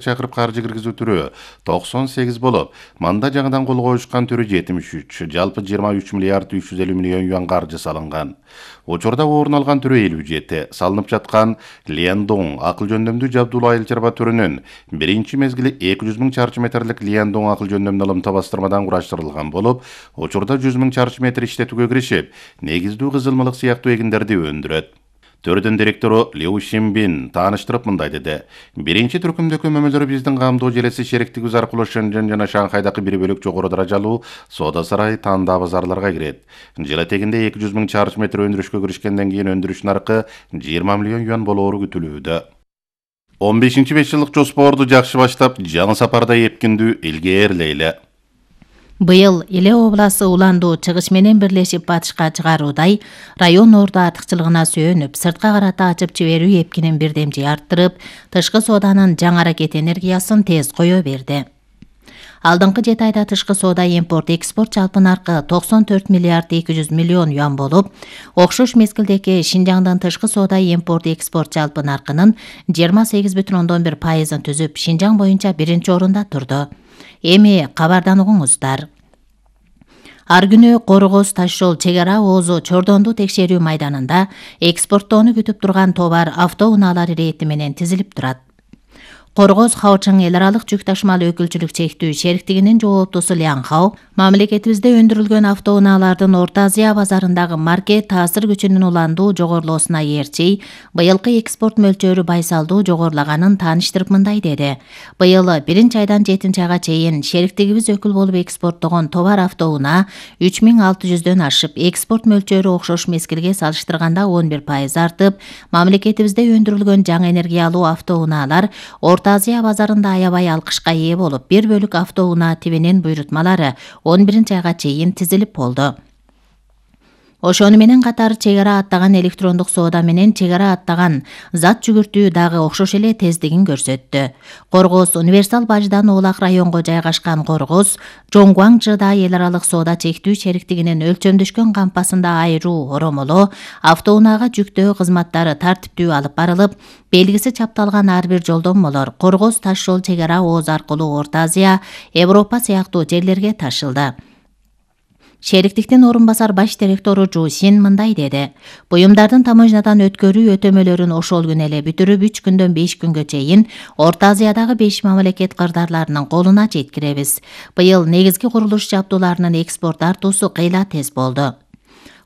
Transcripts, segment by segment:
чакырып каржы киргизүү түрү 98 болуп, манда жаңыдан кол коюшкан түрү 73, жалпы 23 миллиард 350 миллион юан каржы салынган. Учурда орун алган түрү 57, салынып жаткан Лиандон акыл жөндөмдүү жабдуулуу айыл чарба түрүнүн биринчи мезгили 200 000 чарчы метрлик Лиандон акыл жөндөмдүү алымта бастырмадан кураштырылган болуп, учурда 100 000 чарчы метр иштетүүгө киришип, негиздүү кызылмалык сыяктуу эгиндерди өндүрөт. Төрдүн директору Лю Шимбин тааныштырып мындай деди. Биринчи түркүмдөгү көмөлөр биздин камдоо желеси шериктигибиз аркылуу Шэньчжэн жана Шанхайдагы 1 бөлүк жогору даражалуу соода сарай тандаа базарларга кирет. Жыл этегинде 200 000 чарчы метр өндүрүшкө киришкенден кийин өндүрүш наркы 20 миллион юан болоору күтүлүүдө. 15-5 жылдык жоспорду жакшы баштап, жаңы сапарда эпкиндүү илгээрлейле. Быйыл Иле обласы уландуу чыгыш менен бирлешип батышка чыгаруудай район ордо артыкчылыгына сүйөнүп, сыртка карата ачып жиберүү эпкинин бирдемчи арттырып, тышкы сооданын жаңы аракет энергиясын тез кое берди. Алдыңкы 7 айда тышкы соода импорт-экспорт жалпы наркы 94 миллиард 200 миллион юан болуп, окшош мезгилдеги Шинжаңдын тышкы соода импорт-экспорт жалпы наркынын 28,1% түзүп, Шинжаң боюнча биринчи орунда турду. Эми кабардан угуңуздар. Ар күнү Коргоз таш жол чек ара оозу Чордонду текшерүү майданында экспорттоону күтүп турган товар автоунаалар ирети менен тизилип турат. Коргоз Хаочың эл аралык жүк ташымал өкүлчүлүк чектүү шериктигинин жооптусу Лянхау мамлекетибизде өндүрүлгөн автоунаалардын Орто Азия базарындагы маркет таасир күчүнүн уландуу жогорулоосуна ээрчи, быйылкы экспорт мөлчөрү байсалдуу жогорулаганын тааныштырып мындай деди. Быйыл 1-айдан 7-айга чейин шериктигибиз өкүл болуп экспорттогон товар автоунаа 3600дөн ашып, экспорт мөлчөрү окшош мезгилге салыштырганда 11% артып, мамлекетибизде өндүрүлгөн жаңы энергиялуу автоунаалар Орто Азия базарында аябай алкышка ээ болуп, 1 бөлүк автоунаа тибинин буйрутмалары 11-айга чейин тизилип болду. Ошону менен катары чек ара аттаган электрондук соода менен чек ара аттаган зат жүгүртүү дагы окшош эле тездигин көрсөттү. Коргоз универсал баждан Оолак районго жайгашкан Коргоз Жоңгуаңчыда эл аралык соода чектүү шериктигинин өлчөмдөшкөн кампасында айруу оромолоо, автоунаага жүктөө кызматтары тартиптүү алып барылып, белгиси чапталган ар бир жолдомолор Коргоз таш жол чек ара ооз аркылуу Орто Азия, Европа сыяктуу жерлерге ташылды. Шериктиктин орун басар баш директору Жу Син мындай деди. Буюмдардын таможнядан өткөрүү өтөмөлөрүн ошол күнү эле бүтүрүп 3 күндөн 5 күнгө чейин Орто Азиядагы 5 мамлекет кырдаарларынын колуна жеткиребиз. Быйыл негизги курулуш жабдууларынын экспорт артуусу кыйла тез болду.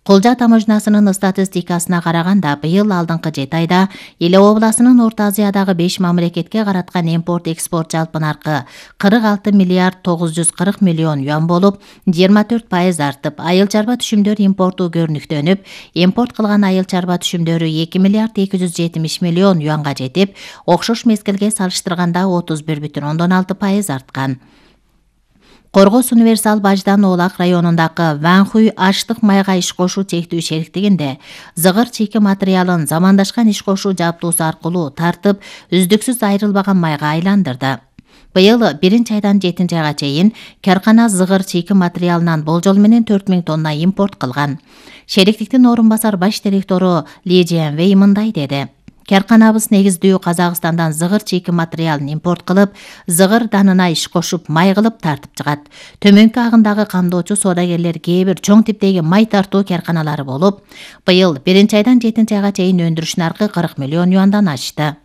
Кулжа таможнасынын статистикасына караганда, быйыл алдыңкы 7 айда Иле обласынын Орто Азиядагы 5 мамлекетке караткан импорт-экспорт жалпы наркы 46 миллиард 940 миллион юан болуп, 24% артып, айыл чарба түшүмдөр импорту көрүнүктөнүп, импорт кылган айыл чарба түшүмдөрү 2 миллиард 270 миллион юанга жетип, окшош мезгилге салыштырганда 31,6% арткан. Коргоз универсал баждан Оолак районундагы Ванхуй аштык майга иш кошуу чектүү шериктигинде зыгыр чийки материалын замандашкан иш кошуу жабдуусу аркылуу тартып, үздүксүз айрылбаган майга айландырды. Быйыл 1-айдан 7-айга чейин каркана зыгыр чийки материалынан болжол менен 4000 тонна импорт кылган. Шериктиктин орун басар баш директору Ли Дженвей мындай деди. Карканабыз негиздүү Казакстандан зыгыр чийки материалын импорт кылып, зыгыр данына иш кошуп, май кылып тартып чыгат. Төмөнкү агындагы камдоочу соодагерлер кээ бир чоң типтеги май тартуу карканалары болуп, быйыл 1-айдан 7-айга чейин өндүрүш наркы 40 миллион юандан ашты.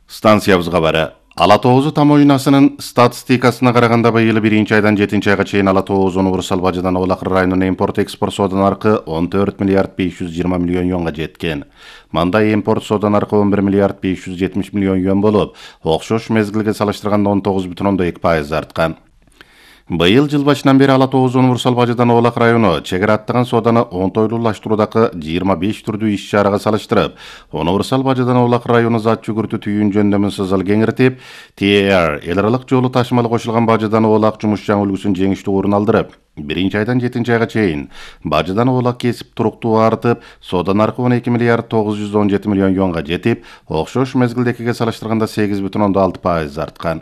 Станциябызга бара. Ала Тоозу таможнасынын статистикасына караганда, быйыл 1-айдан 7-айга чейин Ала Тоозу универсал баждан Оолак районунун импорт-экспорт соода наркы 14 миллиард 520 миллион юанга жеткен. Манда импорт соода наркы 11 миллиард 570 миллион юан болуп, окшош мезгилге салыштырганда 19,2% арткан. Быйыл жыл башынан бери Ала Тоозу универсал баждан Оолак району чек ара аттаган сооданы оңтойлуулаштыруудагы 25 түрдүү иш чарага салыштырып, универсал баждан Оолак району зат жүгүртүү түйүүн жөндөмүн сызыл кеңиртип, TAR эл аралык жолу ташымалы кошулган баждан Оолак жумушчан үлгүсүн жеңиштүү орун алдырып, 1-айдан 7-айга чейин баждан Оолак кесип туруктуу артып, соода наркы 12 миллиард 917 миллион юанга жетип, окшош мезгилдекиге салыштырганда 8,6% арткан.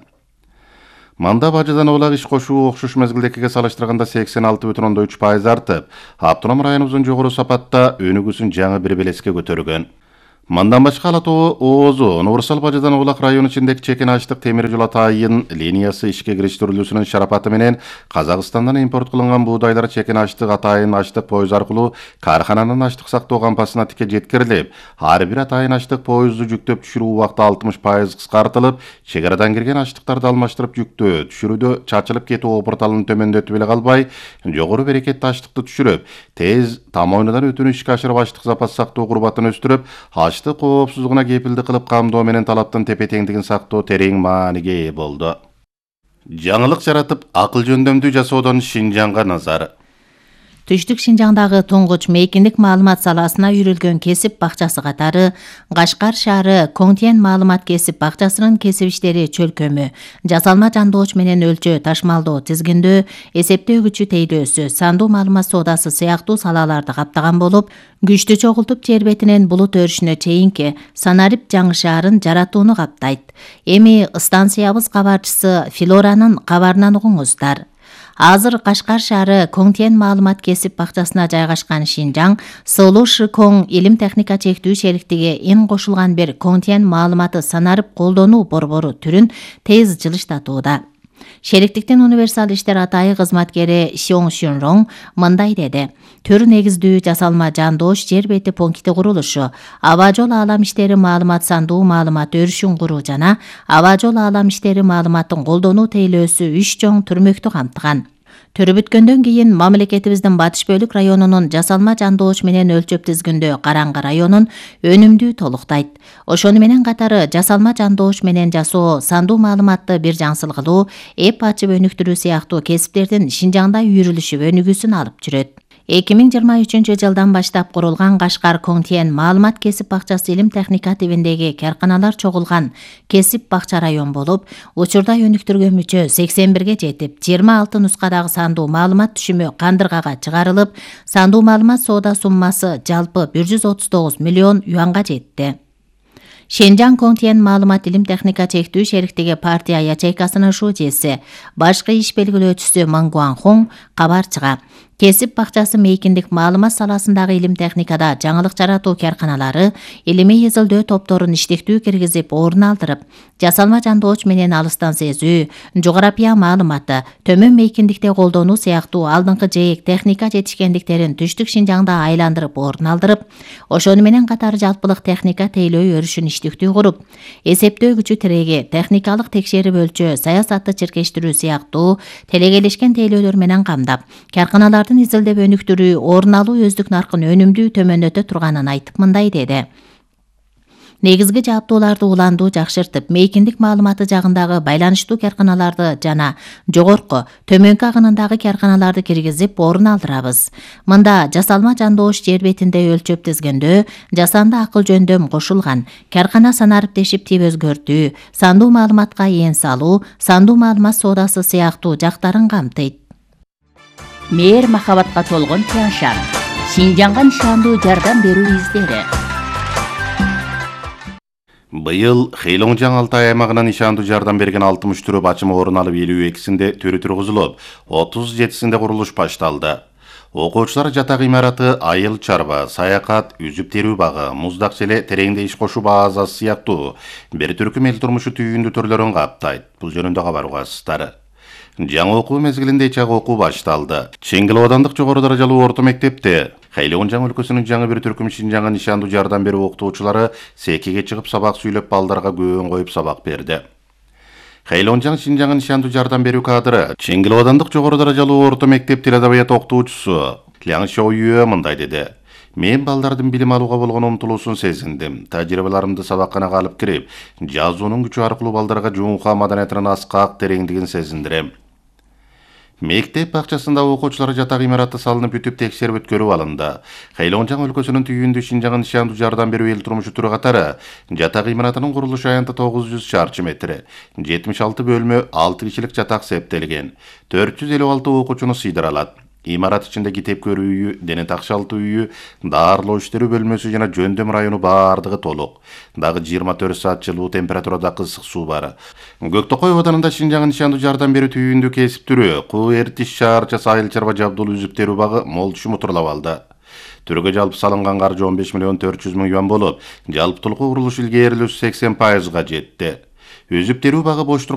Манда баждан Оолак иш кошуу окшош мезгилдекиге салыштырганда 86,3% артып, автоном районубуздун жогору сапатта өнүгүүсүн жаңы бир белеске көтөргөн. Мындан башка Ала Тоо ООЗу универсал бажадан Оолак району ичиндеги чекен ачтык темир жол атайын линиясы ишке кириштирилүүсүнүн шарапаты менен Казакстандан импорт кылынган буудайлар чекен ачтык атайын ачтык поезд аркылуу каархананын ачтык сактоо кампасына тике жеткирилип, ар бир атайын ачтык поезду жүктөп түшүрүү убакыты 60% кыскартылып, чек арадан кирген ачтыктарды алмаштырып жүктөө түшүрүүдө чачылып кетүү опурталын төмөндөтүп эле калбай, жогору берекеттүү ачтыкты түшүрүп, тез там ойнудан өтүүнү ишке ашырып ачтык запас сактоо курбатын өстүрүп, ачтык коопсуздугуна кепилдик кылып камдоо менен талаптын тепе-теңдигин сактоо терең мааниге ээ болду. Жаңылык жаратып, акыл жөндөмдүү жасоодон Шинжаңга назар. Түштүк Шинжаңдагы туңгуч мейкиндик маалымат саласына үйрүлгөн кесип бакчасы катары Кашкар шаары Коңтен маалымат кесип бакчасынын кесип иштери чөлкөмү, жасалма жандооч менен өлчөө ташмалдоо тизгиндөө, эсептөөгүчү тейлөөсү, сандуу маалымат соодасы сыяктуу салаларды каптаган болуп, күчтү чогултуп жер бетинен булут өрүшүнө чейинки Санарип жаңы шаарын жаратууну каптайт. Эми станциябыз кабарчысы Филоранын кабарынан угуңуздар. Азыр Кашкар шаары Коңтен маалымат кесип бакчасына жайгашкан Шинжаң Сылуу Шыкоң илим техника чектүү шериктиги ин кошулган бир Коңтен маалыматы санарып колдонуу борбору түрүн тез жылыштатууда. Шериктиктин универсал иштер атайы кызматкери Сиоң Шүнроң мындай деди: Төр негиздүү жасалма жандооч жер бети пункти курулушу, аба жол аалам иштери маалымат сандуу маалымат өрүшүн куруу жана аба жол аалам иштери маалыматын колдонуу тейлөөсү 3 чоң түрмөктү камтыган. Төрү бүткөндөн кийин мамлекетибиздин батыш бөлүк районунун жасалма жандооч менен өлчөп тизгиндөө Караңгы районун өнүмдүү толуктайт. Ошону менен катары жасалма жандооч менен жасоо, сандуу маалыматты бир жаңсыл кылуу, эп ачып өнүктүрүү сыяктуу кесиптердин Шинжаңда үйрүлүшүп өнүгүүсүн алып жүрөт. 2023 жылдан баштап курулган Кашкар Коңтен маалымат кесип бакчасы илим техника тибиндеги карканалар чогулган кесип бакча район болуп, учурда өнүктүргөн мүчө 81 жетип, 26 нускадагы сандуу маалымат түшүмү кандыргага чыгарылып, сандуу маалымат соода суммасы жалпы 139 миллион юанга жетти. Шинжаң Коңтен маалымат илим техника чектүү шериктиги партия ячейкасынын шужеси, башкы иш белгилөөчүсү Мангуанхун кабарчыга кесип бакчасы мейкиндик маалымат саласындагы илим техникада жаңылык жаратуу карканалары илимий изилдөө топторун иштиктүү киргизип орун алдырып, жасалма жандооч менен алыстан сезүү, жогорапия маалыматы, төмөн мейкиндикте колдонуу сыяктуу алдыңкы жээк техника жетишкендиктерин түштүк Шинжаңда айландырып орун алдырып, ошону менен катары жалпылык техника тейлөө өрүшүн иштиктүү куруп, эсептөөгүчү тиреги, техникалык текшерип өлчөө, саясатты чиркештирүү сыяктуу телегелешкен тейлөөлөр менен камдап, карканалар изилдеп өнүктүрүү, орун алуу өздүк наркын өнүмдүү төмөндөтө турганын айтып мындай деди: Негизги жаптууларды уландуу жакшыртып, мейкиндик маалыматы жагындагы байланыштуу карканаларды жана жогорку, төмөнкү агынындагы карканаларды киргизип орун алдырабыз. Мында жасалма жандооч жер бетинде өлчөп тизгендөө, жасанды акыл жөндөм кошулган, каркана санариптешип тип өзгөртүү, сандуу маалыматка эн салуу, сандуу маалымат соодасы сыяктуу жактарын камтыйт. Мээр махабатка толгон Тяншан, Шинжаңга нишандуу жардам берүү издери. Быйыл Хэйлоңжаң Алтай аймагынан нишандуу жардам берген 60 түрү бачымы орун алып, 52-синде төрү тургузулуп, 37-синде курулуш башталды. Окуучулар жатак имараты, айыл чарба, саякат, үзүп терүү багы, муздак желе, тереңде иш кошуу базасы сыяктуу бир түркүм эл турмушу түйүндүү түрлөрүн каптайт. Бул жөнүндө кабар угасыздар. Жаңы окуу мезгилинде чак окуу башталды. Чеңгил аудандык жогору даражалуу орто мектепте Хэйлоңжаң өлкөсүнүн жаңы бир түркүм Шинжаңга нишандуу жардам берүү окутуучулары секиге чыгып сабак сүйлөп, балдарга көөн коюп сабак берди. Хэйлоңжаң Шинжаңга нишандуу жардам берүү кадры Чеңгил аудандык жогору даражалуу орто мектеп тил адабият окутуучусу Ляң Шоуюэ мындай деди: Мен балдардын билим алууга болгон умтулуусун сезиндим. Тажрыйбаларымды сабакканага алып кирип, жазуунун күчү аркылуу балдарга жуунка маданиятынын аскак тереңдигин сезиндирем. Мектеп бакчасында окуучулар жатак имараты салынып бүтүп, текшерип өткөрүп алынды. Хэйлоңжаң өлкөсүнүн түйүндүү Шинжаңга нишандуу жардам берүү эл турмушу түрү катары жатак имаратынын курулуш аянты 900 чарчы метр, 76 бөлмө, 6 кишилик жатак септелген, 456 окуучуну сыйдыра алат. Имарат ичинде китеп көрүү үйү, дене такшалтуу үйү, даарылоо иштери бөлмөсү жана жөндөм району баардыгы толук. Дагы 24 саат жылуу температурада ысык суу бар. Көктөкөй абаданында Шинжаңга нишандуу жардам берүү түйүндүү кесип түрү, Куу Эртиш шаарчасы айыл чарба жабдуулуу үзүп терүү багы мол түшүм утурлап алды. Түргө жалпы салынган каржы 15 миллион 400 000 юан болуп, жалпы курулуш илгээрилүүсү 80%га жетти. Үзүп терүү багы бош турган